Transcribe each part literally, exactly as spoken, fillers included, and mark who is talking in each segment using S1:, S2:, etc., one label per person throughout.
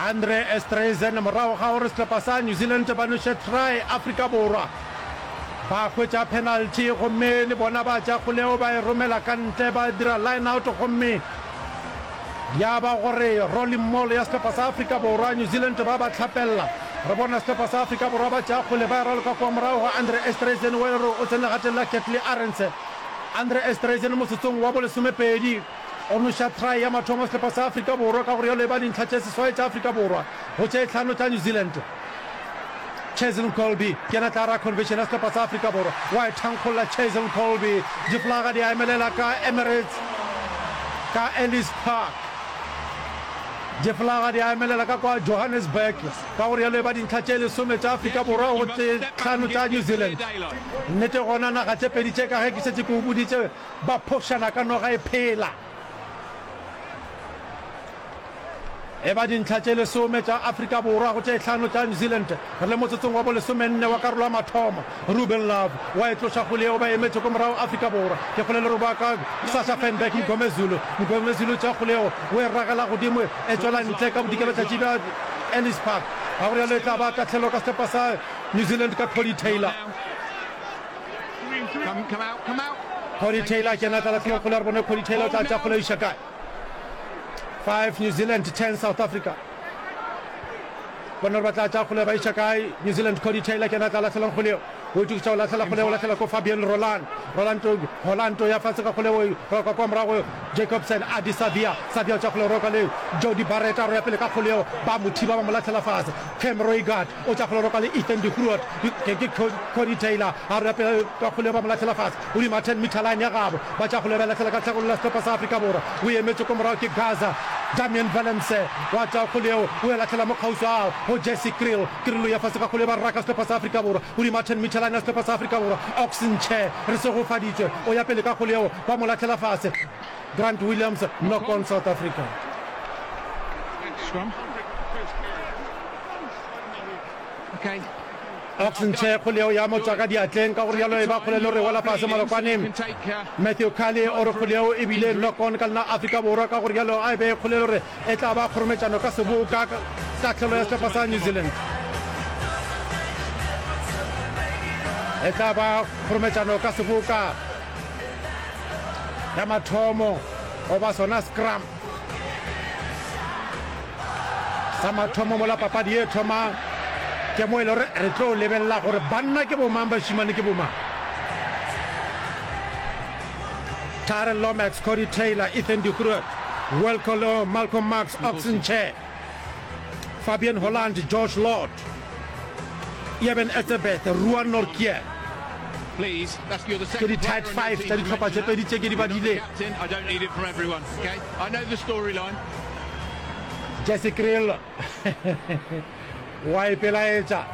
S1: Andre Esterhuizen morago ga gore sehlopha sa New Zealand ba noše try Afrika Borwa ba hwetša penalty gomme le bona ba tša kgoleo ba e romela ka ntle ba dira line out gomme ya ba gore rolling maul ya sehlopha sa Afrika Borwa New Zealand ba ba tlhapella re bona sehlopha sa Afrika Borwa ba tša kgole ba e raloka kwa morago ga Andre Esterhuizen o e re o tsene legateng la Kurt-Lee Arendse Andre Esterhuizen motsotsong wa bolesomepedi o noša try ya mathomo sehlopha sa Afrika Borwa ka gore yalo e ba dintlha tše seswai tša Afrika Borwa go tše tlhano tša New Zealand Cheslin Kolbe ke yena tla ra conversion ya sehlopha sa Afrika Borwa wa e thankgolla Cheslin Kolbe diflaga di a emelela ka Emirates ka Ellis Park diflaga di a emelela ka kwa Johannesburg ka gore yalo e ba dintlha tše lesome tša Afrika Borwa go tše tlhano tša New Zealand nnete gona naga tše pedi tše ka ge ke šetše ke o boditše ba phošana ka noga e phela e ba dintlha tše lesome tša Afrika Borwa go tše tlhano tša New Zealand re le motsotsong wa bolesomenne wa karolo ya mathomo Ruben Love wa e tloša kgole yeo ba emetše ko morago Afrika Borwa ke kgole le roba ka Sacha Feinberg Mngomezulu Mngomezulu tša kgole yeo o e ragela godimo e tšwela ntle ka bodikelatšatši bja Ellis Park ga gore yalo e tla ba tahlelo ka sehlopha sa New Zealand ka Cody Taylor
S2: Come, come out, come out.
S1: Cody Taylor ke yena tla lahlela kgole re bone Cody Taylor o tla tša kgole iša kae five New Zealand ten South Africa bona gore ba tla tša kgole ba iša kae New Zealand Cody Taylor ke yena tla lahlelang kgole eo o itokiša go lahlela kgole o lahlela ko Fabian Roland Roland Holland ya fase ka kgole o roka kwa morago Jacobson Adi Savia Savia o tša kgole roka le Jody Barrett a roya pele ka kgole eo ba mo thiba ba mo lahlela fase Cam Roigard o tša kgole roka le Ethan de Groot ke ke Cody Taylor a roya pele ka kgole ba mo lahlela fase godimo ten meter line ya gabo ba tša kgole ba lahlela ka tlhagolo la sehlopha sa Afrika Borwa o emetše ko morago ke Gaza Damian Willemse wa tša kgole eo o e lahlela mo kgauswi ao go Jesse Kriel Kriel ya fase ka kgole ba raka sehlopha sa Afrika Borwa godimo ten meter line ya sehlopha sa Afrika Borwa Ox Nche re segofaditšwe o ya pele ka kgole eo ba mo lahlela fase Grant Williams knock on South Africa
S2: Scrum. Okay.
S1: Ox Nche kgole eo ya mo tswa ka diatleng ka gore yalo e ba kgole le re wela fase malokwane Matthew Kelly o re kgole eo ebile knock on ka lena Afrika Borwa ka gore yalo a e be kgole le gore e tla ba kgorometšano ka seboka tahlelo ya sehlopha sa New Zealand e tla ba kgorometšano ka seboka ya mathomo goba sona scrum sa mathomo mola papadi e thoma ke mo e le gore re tlo lebelela gore banna ke bomang bašimane ke bomang Tyrell Lomax, Cody Taylor, Ethan de Groot, Wilco Louw, Malcolm Marx, Ox Nche, Fabian Holland, Josh Lord, Eben Etzebeth, Ruan Nortje. Ke di-tight five tša dihlopha tše pedi tše ke di badile. Jesse Kriel wa ipelaetša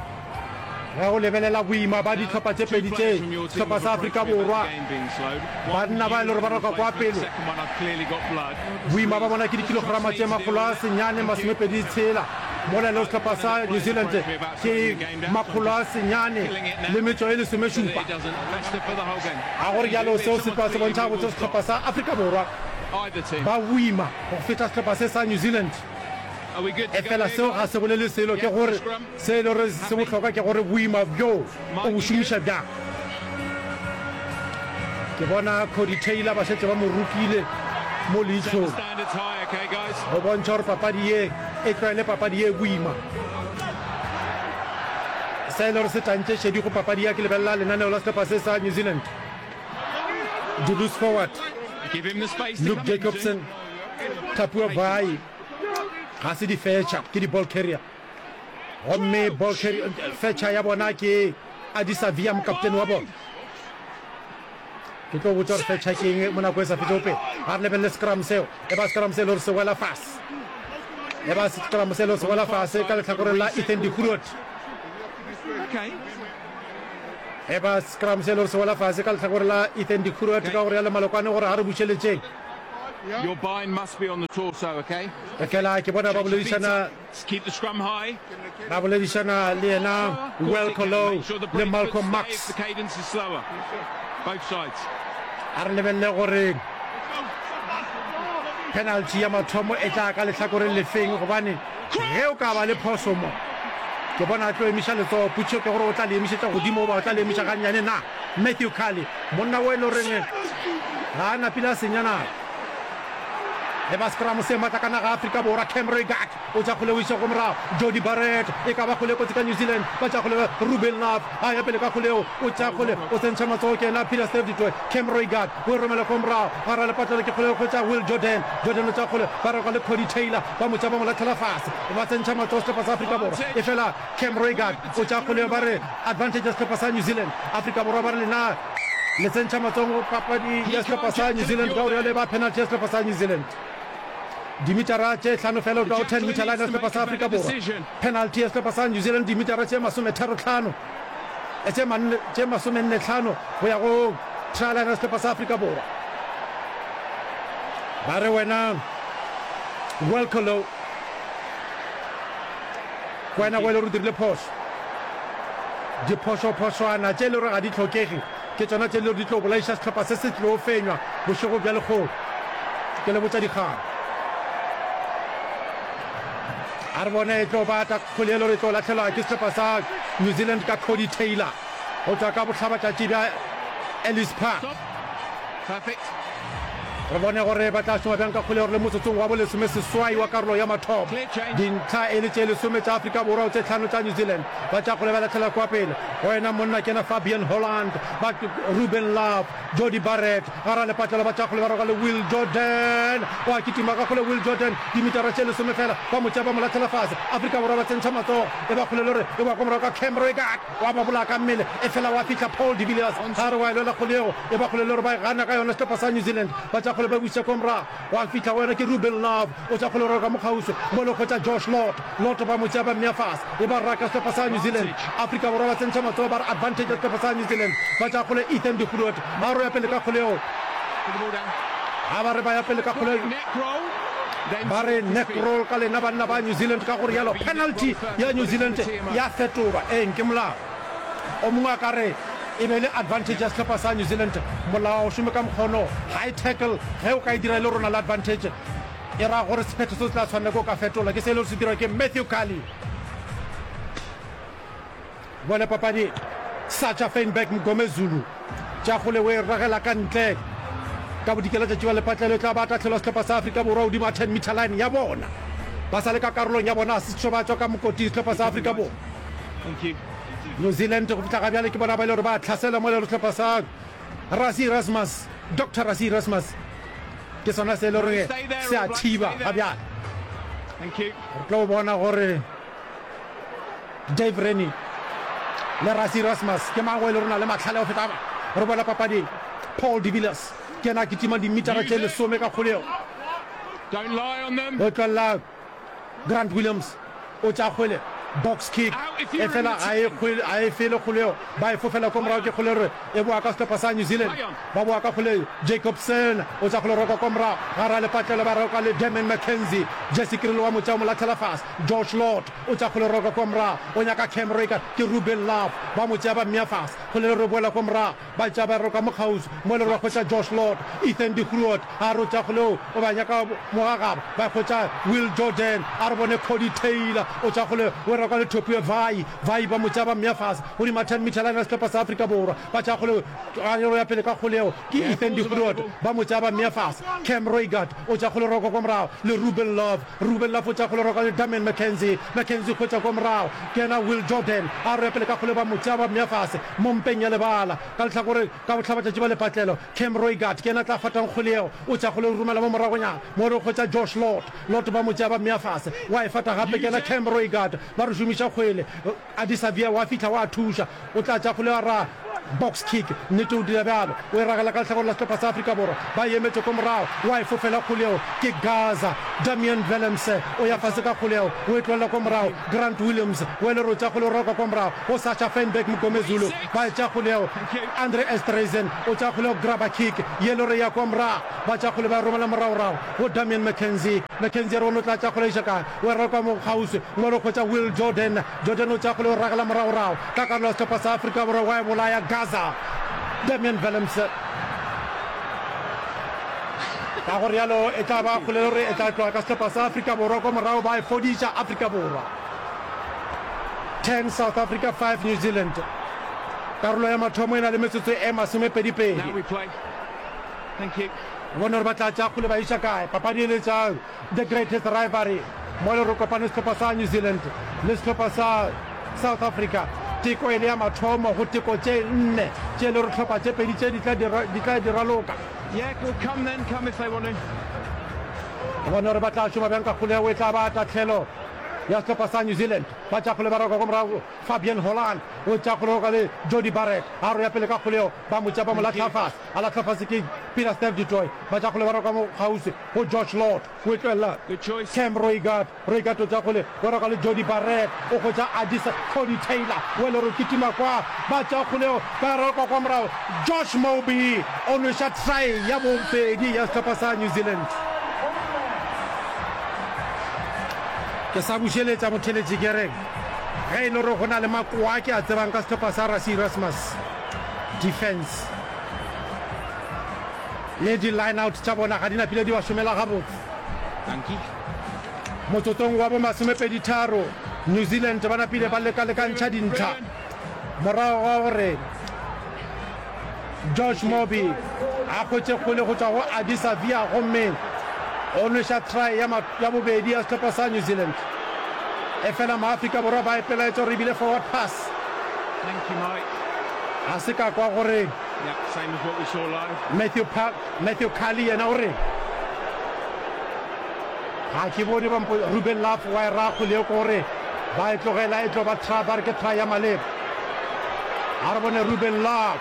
S1: ge o lebelela boima ba dihlopha tše pedi tše sehlopha sa Afrika Borwa banna ba e le gore ba roka kwa pele boima ba bona ke dikilograma tše makgolo a senyane masomepedi tshela mola le sehlopha sa New Zealand ke makgolo a senyane le metšo e lesomešupa ga gore jalo seo se tloa se bontšha gabotse sehlopha sa Afrika Borwa ba boima go feta sehlopha se sa New Zealand e fela seo ga se bolele selo ke gore se e le gore se bohlokwa ke gore boima bjo o bo šomiša bjang ke bona Cody Taylor ba šetše ba mo rokile mo leihlong go bontšha gore papadi ye e tlwaele papadi ye boima se e le gore se tantše šedi go papadi ya ke lebelela lenaneo la sehlopha se sa New Zealand di loose forward Luke Jacobson Tapua Vai ga se di fetša ke di ball carrier gomme ball carrier fetša ya bona ke Adisa Via mokaptene wa bona ke tlo botša gore fetša ke eng mo nako e sa fetšego pele ga re lebelele scrum seo e ba scrum se e le gore se wela fase e ba scrum se e le gore se wela fase ka lehlakoreng la Ethan de Groot e ba scrum se e le gore se wela fase ka lehlakoreng la Ethan de Groot ka gore ya le malokwane gore ga re bušeletšeng
S2: Your bind must be on the torso, okay?
S1: Efela ke bona ba boledišana
S2: Keep the scrum high.
S1: ba boledišana le yena Wilco Louw le Malcolm Marx
S2: The cadence is slower. Both sides.
S1: a re lebelele gore Penalty ya mathomo e tla ka lehlakoreng lefeng, gobane ge o ka ba le phoso mo, ke bona a tlo emiša letsogo. Potšišo ke gore o tla le emišetša godimo goba o tla le emiša gannyane na? Matthew Carley, monna o e le goreng ga a napile a senya nako. E ba scrum se matla ka naga Afrika Borwa. Cam Roigard o tša kgole o iša go morago. Jody Barrett e ka ba kgole kotsi ka New Zealand. Ba tša kgole Ruben Love a ya pele ka kgole eo, o tša kgole o tsentšha matsogo ke yena Peter Steph du Toit. Cam Roigard o e romela ko morago gara lepatlelo ke kgole go tša Will Jordan. Jordan o tša kgole ba roka le Cody Taylor, ba mo tša ba mo latlhela fase, ba tsentšha matsogo sehlopha sa Afrika Borwa. E fela Cam Roigard o tša kgole ba re advantage ya sehlopha sa New Zealand. Afrika Borwa ba re lena le tsentšha matsogo papadi ya sehlopha sa New Zealand, ka gore ba penalty ya sehlopha sa New Zealand. Dimitara tše hlano fela o tloga go ten meter line ya sehlopha sa Afrika Borwa. Penalty ya sehlopha sa New Zealand dimitara tše masometharo hlano, tše manne, tše masomenne hlano go ya go try line ya sehlopha sa Afrika Borwa. Ba re wena Welcolo, ke wena go e le gore o dirile phošo. Diphošophošwana tše e le gore ga di hlokege ke tšona tše e le gore di tlo bolaiša sehlopha se se tlo fenywa bošego bja lekgono. Ke le botša dikgang. A re bone e tlo ba ta kgole e le gore e tlo lahlelwa ke sehlopha sa New Zealand ka Cody Taylor go tšwa ka bohlabatšatši bja Ellis Park.
S2: Perfect.
S1: Re bone gore ba tla šoma bjang ka kgole gore le motsotsong wa bolesome seswai wa karolo ya mathomo, dintlha e le tše lesome tša Afrika Borwa go tše hlano tša New Zealand. Ba tša kgole ba lahlela kwa pele go yena monna ke yena Fabian Holland, ba Ruben Love, Jody Barrett gara lepatlelo, ba tša kgole ba roka le Will Jordan, wa kitima ka kgole Will Jordan dimitara tše lesome fela, ba mo tšea ba mo lahlela fase. Afrika Borwa ba tsentšha matsogo e ba kgole le gore e wa kwa morago ka Cam Roigard, wa ba bolaya ka mmele, efela wa fihla Paul de Villiers a re wa e lwela kgole yeo, e ba kgole le gore ba e gana ka yona sehlopha sa New Zealand. Ba tša kgole ba buša kwa morago, wa fihla go yona ke Ruben Love, o tša kgole roka mokgauswi mo le hwetša Josh Lord, Lord ba mo tšea ba mmea fase, e ba raka sehlopha sa New Zealand. Afrika Borwa ba tsentšha matsogo ba re advantage ya sehlopha sa New Zealand. Ba tša kgole Ethan de Groot a re o ya pele ka kgole yeo, ga ba re ba ya pele ka kgole ba re neck roll ka lena banna ba New Zealand, ka gore yalo penalty ya New Zealand ya fetolwa. Eng ke molao o mongwe a ka re e be le advantage ya sehlopha sa New Zealand. Molao o šome ka mokgono, high tackle ge o ka e dira e le rona le advantage, e ra gore sephetho se se tla tshwanela ke o ka fetola. Ke se e le gore se dirwa ke Matthew Carley. Bone papadi Sacha Feinberg Mgomezulu tša kgole o e ragela ka ntle ka bodikela tšatši ba lepatlelo, e tla ba tahlelwa sehlopha sa Afrika Borwa godimo ga ten meter line ya bona. Ba sa le ka karolong ya bona, a se tšo ba tšwa ka mokoting sehlopha sa Afrika Borwa. New Zealand go fihla ga bjale ke bona ba e le gore ba tlhasela mo e le gore sehlopha sa Rassie Erasmus, Doctor Rassie Erasmus ke sona se e le gore se a thiba ga bjale. Re tlo bona gore Dave Rennie le Rassie Erasmus ke mang o e le rona le mahlale go feta ba. Re boela papading. Paul de Villiers ke yena a kitimang dimitara tše lesome ka kgolego. O tlolela Grant Williams, o tša kgwele, box kick, e fela ga e kgwele, ga e fele kgolego, ba e fofela ko morago ke kgole re e boa ka sehlopha sa New Zealand, ba boa ka kgole Jacobson o tša kgole roka ko morago gara lepatlelo, ba roka le Damian McKenzie, Jesse Kriel wa mo tšea o mo latlhela fase, Josh Lord o tša kgole roka ko morago o nyaka Cam Roigard ke Ruben Love ba mo tšea ba mmea fase, kgole le re boela ko morago Ba tša ba roka mo kgauswi mo le ba hwetša Josh Lord, Ethan de Groot a re o tša kgole o ba nyaka mogagabo, ba hwetša Will Jordan, a re bone Cody Taylor o tša kgole o roka le Topue Vai, Vai ba mo tša ba mmea fase godimo ga ten meter line ya sehlopha sa Afrika Borwa, ba tša kgole a re ya pele ka kgole yeo ke Ethan de Groot ba mo tša ba mmea fase, Cam Roigard o tša kgole roka kwa morago le Ruben Love, Ruben Love o tša kgole roka le Damian McKenzie, McKenzie hwetša kwa morago ke yena Will Jordan a re ya pele ka kgole ba mo tša ba mmea fase mo mpeng ya lebala ka lehlakore ka bohlabatšatši ba lepatlelo. Cam Roigard ke yena a tla fatang kgwele yeo, o tša kgole o romela mo moragonyana mo re hwetša Josh Lord, Lord ba mo tšea ba mmea fase wa e fata gape ke yena Cam Roigard ba re šomiša kgwele. Adi Savia wa fihla wa thuša, o tla tša kgwele wa ra box kick, nnete o dira bjalo, o e ragela ka lehlakore la sehlopha sa Afrika Borwa, ba e emetše ko morago, wa e fofela kgwele yeo ke Gaza, Damian Willemse o ya fase ka kgwele yeo, o e tlolela ko morago, Grant Williams o ele rotša kgwele o roka kwa morago go Sacha Feinberg Mgomezulu, ba e tša kgwele yeo, Andre Esterhuizen o tša kgwele yeo, grabber kick ye lore ya kwa morago, ba tša kgwele ba e romela moragorago go Damian McKenzie, McKenzie a re o no tla tša kgwele iša kae, o e roka mo kgauswi mo re hwetša Will Jordan, Jordan o tša kgwele o ragela moragorago ka karolo ya sehlopha sa Afrika Borwa wa e bolaya Gaza, Damian Willemse. Ka go realo e tla ba kgole gore e tla tloga ka sehlopha sa Afrika Borwa kwa morago ba e fodiša Afrika Borwa. Ten South Africa, five New Zealand. Karolo ya mathomo e na le metsotso e masomepedipedi.
S2: Now we play. Thank you.
S1: Re bone gore ba tla tšea kgole ba iša kae. Papadi e le tša The Greatest Rivalry mo le re kopane sehlopha sa New Zealand le sehlopha sa South Africa. Teko e le ya mathomo go teko tše nne tše le gore hlopha tše pedi tše di tla di tla di raloka.
S2: Yeah, well come then, come if they want to.
S1: Re bone gore ba tla šoma bjang ka kgole yeo e tla ba tahlelo ya sehlopha sa New Zealand. Ba tšea kgole ba roka ko morago Fabian Holland o tšea kgole go le Jody Barrett a roya pele ka kgole yeo ba mo tšea ba mo lahla fase a lahla fase ke Peter Steph du Toit ba tšea kgole ba roka mo kgauswi go Josh Lord o e tlohella
S2: Good choice.
S1: Cam Roigard Roigard o tšea kgole o roka le Jody Barrett o hwetša Adisa Cody Taylor o le re kitima kwa ba tšea kgole yeo ba roka kwa morago Josh Moby o nweša try ya bobedi ya sehlopha sa New Zealand. Ke sa bušeletša motheletši ke re ge e le gore go na le makoa ke a tsebang ka sehlopha sa Rassie Erasmus defense le di line out tša bona ga di napile di ba šomela gabotse.
S2: Dankie.
S1: Motsotsong wa bo masomepedi tharo New Zealand ba napile ba leka-lekantšha dintlha morago ga gore Josh Moby a hwetše kgole go tšwa go Ardie Savea gomme o nweša try ya, ya bobedi ya sehlopha sa New Zealand. Efela Maafrika Borwa ba ipelaetša gore e bile forward pass.
S2: Thank you, Mike.
S1: Ga se ka kwa gore
S2: Yeah, same as what we saw live.
S1: Matthew, pa Matthew Cully yena o re ga ke bone ba mpo Ruben Love wa e ra kgole eo ke gore ba e tlogela e tlo ba try ba re ke try ya maleba. A re bone Ruben Love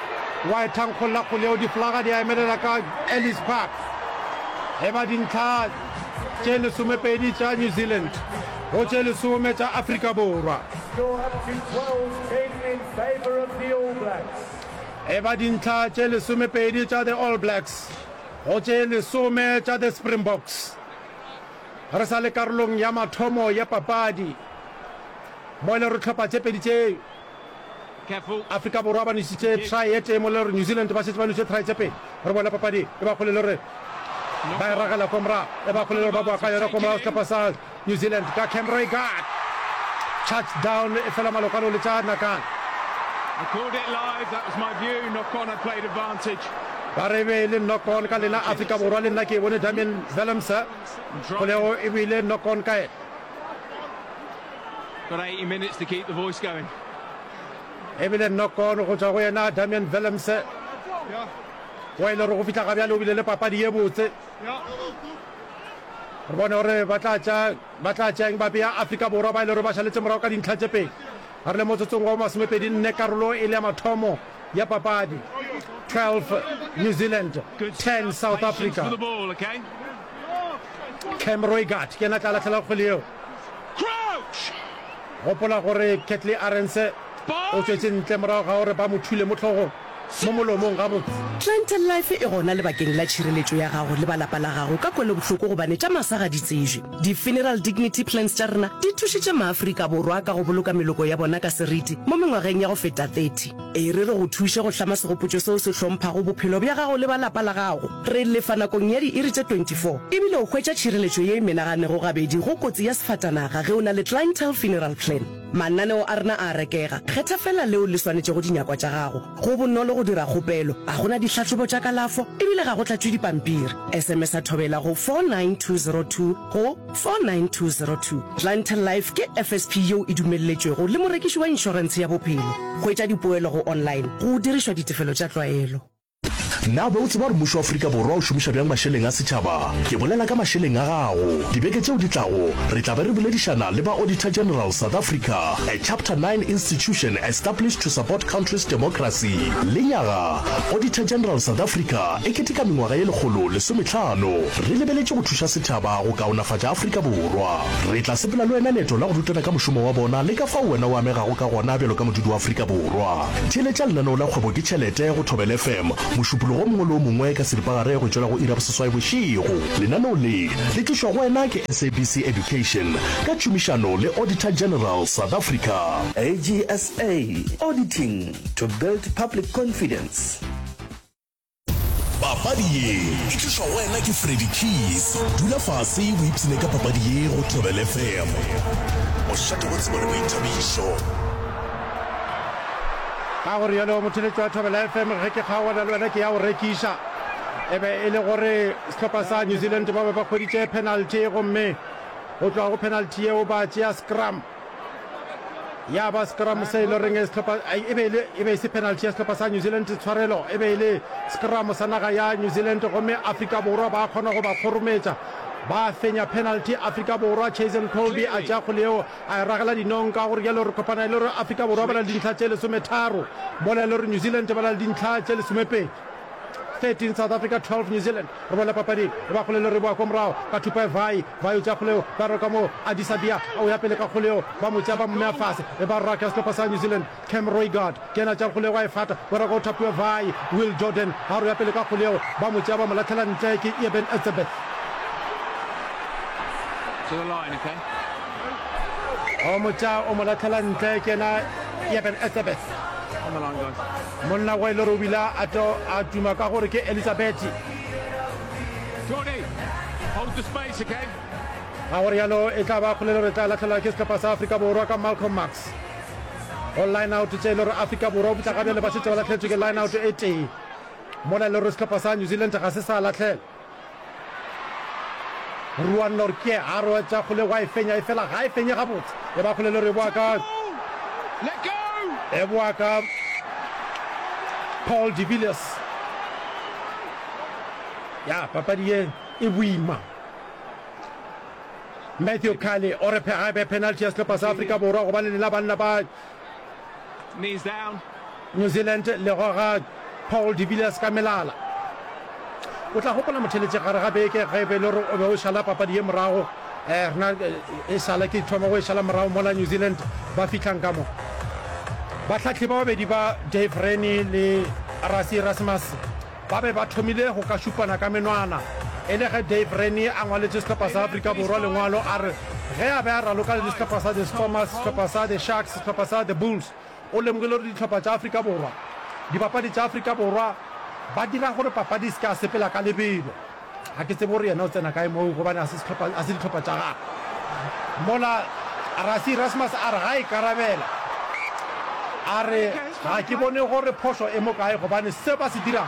S1: wa e thankgolla kgole eo diflaga di a emelela ka Ellis Park. E ba dintlha tše lesomepedi tša New Zealand go tše lesome tša Afrika Borwa.
S3: Score up to twelve ten in favour of the All Blacks.
S1: E ba dintlha tše lesomepedi tša the All Blacks go tše lesome tša the Springboks. Re sa le karolong ya mathomo ya papadi mo e le gore hlopha tše pedi tše
S2: Careful.
S1: Afrika Borwa ba nwešitše try e tee mo le gore New Zealand ba šetše ba nwešitše try tše pedi. Re bone papadi e ba kgole le gore ba e ragela ko morago e ba kgole le gore ba boa ka yona ko morago sehlopha sa New Zealand ka Cam Roigard. Touchdown e fela malokwane o letša nakana.
S2: I called it live. That was my view. Knock on. I played advantage.
S1: Ba re e be e le knock on ka lena Afrika Borwa le nna ke e bone Damien Willemse kgolego e bile knock on ka yena.
S2: Got eighty minutes to keep the voice going.
S1: E bile knock on go tšwa go yena Damien Willemse wa e le gore go fihla ga bjale o bile le papadi ye botse. Re bone gore ba tla tša ba tla tšea eng ba bea Afrika Borwa ba e le gore ba šaletše morago ka dintlha tše pedi. Re le motsotsong wa masomepedi nne karolo e le ya mathomo ya papadi. twelve New Zealand,
S2: Good
S1: ten
S2: stuff.
S1: South
S2: Patience for
S1: Africa.
S2: the ball, okay?
S1: Cam Roigard ke yena a tla lahlela kgwele yeo.
S2: Crouch!
S1: Gopola gore Catley Arendse o tšwetše ntle morago ga gore ba mo thule mo hlogong mo molomong gabotse.
S4: Clientele Life e gona lebakeng la tšhireletšo ya gago le ba lapa la gago ka kwelobohloko gobane tša masa ga di tsejwe. Di-funeral dignity plans tša rena di thušitše Maafrika Borwa ka go boloka meloko ya bona ka seriti mo mengwageng ya go feta thirty. E re re go thuše go hlama segopotšo seo se hlomphago bophelo bja gago le ba lapa la gago. Re lefa nakong ya diiri tše twenty-four ebile o hwetša tšhireletšo ye e menaganego gabedi go kotsi ya sefatanaga ge o na le Clientele Funeral Plan. Mananeo a rena a a rekega, kgetha fela leo le swanetšego dinyakwa tša gago. Go bonolo go dira kgopelo, ga go na dihlahlobo tša kalafo ebile ga go tlatšwe dipampiri. S M S a Thobela go four nine two zero two go four nine two zero two. Clientele Life ke F S P yeo e dumelletšwego le morekiši wa inšorentshe ya bophelo. Hwetša dipoelo go online go dirišwa ditefelo tša tlwaelo.
S5: Na be o tseba gore mmušo wa Afrika Borwa o šomiša bjang mašeleng a setšhaba? Ke bolela ka mašeleng a gago. Dibeke tšeo di tlago, re tla be re boledišana le ba Auditor General South Africa, a Chapter nine institution established to support country's democracy. Lenyaga, Auditor General South Africa e keteka mengwaga ye lekgolo lesometlhano. Re lebeletše go thuša setšhaba go kaonafatša Afrika Borwa. Re tla sepela le wena leeto la go rutana ka mošomo wa bona le ka fao wena o amegago ka gona bjalo ka modudi wa Afrika Borwa. Theeletša lenaneo la Kgwebo ke Tšhelete go Thobela F M, Mošupologo o mongwe le o mongwe ka seripagare go tšwela go iri ya boseswai bošego. Lenaneo le le tlišwa go wena ke S A B C Education ka tšhomišano le Auditor General South Africa.
S6: A G S A, auditing to build public confidence.
S5: Papadi. Papadi ye e tlišwa go wena ke Freddy Keys. Dula fase o ipshine ka papadi ye go Thobela F M. Mošate wa tsebo le boithabišo.
S1: Ka go rialo motheletši wa Thobela F M, ge ke kgaogana le wena ke ya go rekiša. E be e le gore sehlopha sa New Zealand ba be ba hweditše penalty, gomme go tloga go penalty yeo ba tšea scrum. Ya ba scrum se e le goreng sehlopha e be e le e be e se penalty ya sehlopha sa New Zealand, tshwarelo, e be e le scrum sa naga ya New Zealand, gomme Afrika Borwa ba kgona go ba kgorometša, ba fenya penalty. Afrika Borwa, Chazen Colby a tšea kgole yeo a e ragela dinong. Ka gore jalo re kopana e le gore Afrika Borwa ba na le dintlha tše lesometharo, mola e le gore New Zealand ba na le dintlha tše lesomepedi. thirteen South Africa, twelve New Zealand. Re boela papading, e ba kgole le re boa ko morago ka thupa e Vai. Vai o tšea kgole eo, ba roka mo Adisa Bia o ya pele ka kgole eo, ba mo tšea ba mmea fase. E ba raka sehlopha sa New Zealand. Cam Roigard ke yena a tšea kgole eo a e fata, ba roka o thapiwa Vai. Will Jordan a re o ya pele ka kgole eo, ba mo tšea ba mo lahlela ntle ke Eben Etzebeth.
S2: To the line, okay?
S1: O mo tšea o mo lahlela ntle ke yena Eben Etzebeth.
S2: On the line, guys.
S1: Monna wa e le gore o bile a to a tuma ka gore ke Elizabeth.
S2: Jordi, hold the space, okay?
S1: Ga go rialo e tla ba kgolelo re tla lahlelwa ke sehlopha sa Afrika Borwa ka Malcolm Marx. Go line out tše e le gore Afrika Borwa o fihla ga bjale ba šetše ba lahletšwe ke line out e tee. Mola e le gore sehlopha sa New Zealand ga se sa lahlela. Ruan Nortje a re tša kgole wa e fenya, efela ga e fenye gabotse. E ba kgolelo re boa ka
S2: Let go!
S1: e boa ka Paul de Villiers. Ya papadi ye e boima. Matthew Kelly o re ga e be penalty ya sehlopha sa Afrika Borwa gobane lena banna ba
S2: Knees down.
S1: New Zealand le goga Paul de Villiers ka melala. O tla gopola motheletše gare ga beke ge e be e le gore o be o šala papadi ye morago. Eh, rena e šala ke thoma go e šala morago mola New Zealand ba fihlang ka mo. Bahlahli ba babedi ba Dave Rennie le Rassie Erasmus ba be ba thomile go ka šupana ka menwana e le ge Dave Rennie a ngwaletše sehlopha sa Afrika Borwa lengwalo a re ge a be a raloka le sehlopha sa The Stormers, sehlopha sa The Sharks, sehlopha sa The Bulls, o lemogile gore dihlopha tša Afrika Borwa, dibapadi tša Afrika Borwa ba dira gore papadi e se ke ya sepela ka lebelo. Ga ke tsebe gore yena o tsena kae moo gobane ga se sehlopha, ga se dihlopha tša gagwe. Mola Rassie Erasmus a re ga a ikarabela, a re ga ke bone gore phošo e mo kae gobane se ba se dirang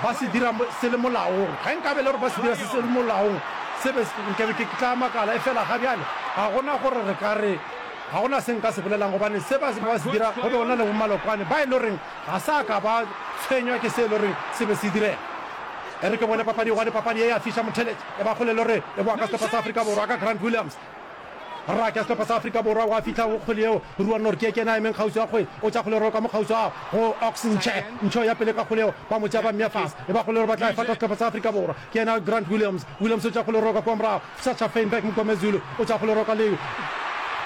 S1: ba se dira se le molaong. Ge nkabe e le gore ba se dira se se le molaong se be nkabe ke tla makala, efela ga bjale ga gona gore re ka re ga gona se nka se bolelang gobane se ba ba se dira go be go na le bomalokwane ba e le goreng ga sa ka ba tshwenywa ke se e le goreng se be se direga. E re ke bone papadi gobane papadi ye ya fiša motheletše. E ba kgole le gore e boa ka sehlopha sa Afrika Borwa ka Grant Williams. Raka ya sehlopha sa Afrika Borwa wa fihla go kgwele yeo. Ruan Nortje ke yena a emeng kgauswi ga kgwele. O tša kgwele roka mo kgauswi ga go Ox Nche. Nche o ya pele ka kgwele yeo. Ba mo tšea ba mmea fase. E ba kgole le gore ba tla e fata sehlopha sa Afrika Borwa. Ke yena Grant Williams. Williams o tša kgwele roka kua morago. Sacha Feinberg Mngomezulu o tša kgwele roka le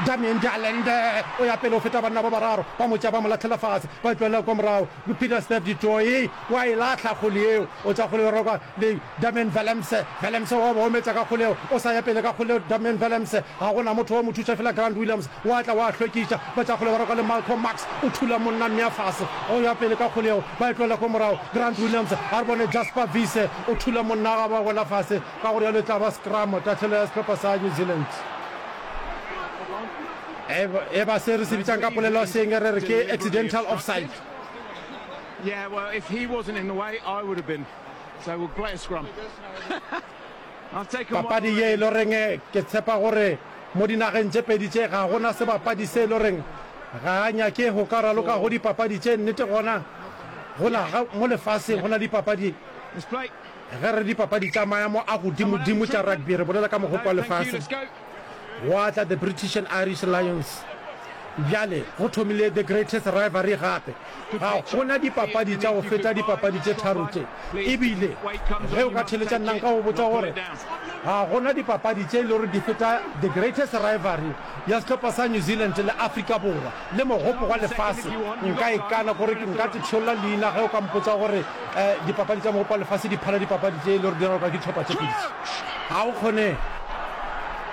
S1: Damian de Allende. O ya pele o feta banna ba bararo. Ba mo tšea ba mo lahlela fase. Ba e tlohela kua morago. Pieter Steph du Toit wa e lahla kgwele yeo. O tša kgwele roka le Damian Willemse. Willemse wa ba ometša ka kgwele yeo. O sa ya pele ka kgwele yeo Damian Willemse. Ga go na motho wa mo thuša fela Grant Williams wa tla wa hlwekiša. Ba tša kgwele ba roka le Malcolm Marx. O thula monna mmea fase. O ya pele ka kgwele yeo. Ba e tlohela ko morago. Grant Williams a re bone Jasper Wiese. O thula monna ga ba wela fase. Ka go rialo e tla ba scrum, tahlelo ya sehlopha sa New Zealand. E ba se re se bitsang ka polelo ya seeng re re ke accidental offside.
S2: Yeah, well, if he wasn't in the way, I would have been. So we'll play a scrum. I've taken one
S1: Papadi ye e
S2: already.
S1: le goreng ke tshepa gore mo dinageng tše pedi tše ga gona sebapadi se e le goreng ga a nyake go ka raloka go dipapadi tše. Nnete gona go na ga mo lefaseng go na le dipapadi
S2: Let's play.
S1: Ge re re dipapadi tša maemo a godimodimo tša rugby re bolela ka mogopo wa lefase. Gwa tla The British and Irish Lions. Bjale go thomile The Greatest Rivalry gape. Ga go na dipapadi tša go feta dipapadi tše tharo tše. E bile ge o ka theeletša nna nka go botša gore ga go na dipapadi tše e le gore di feta The Greatest Rivalry ya sehlopha sa New Zealand le Afrika Borwa le mogopo wa lefase. Nka ikana gore nka te tšholla leina ge o ka mpotša gore dipapadi tša mogopo wa lefase di phala dipapadi tše e le gore di raloka ke dihlopha tše pedi tše. Ga go kgonege.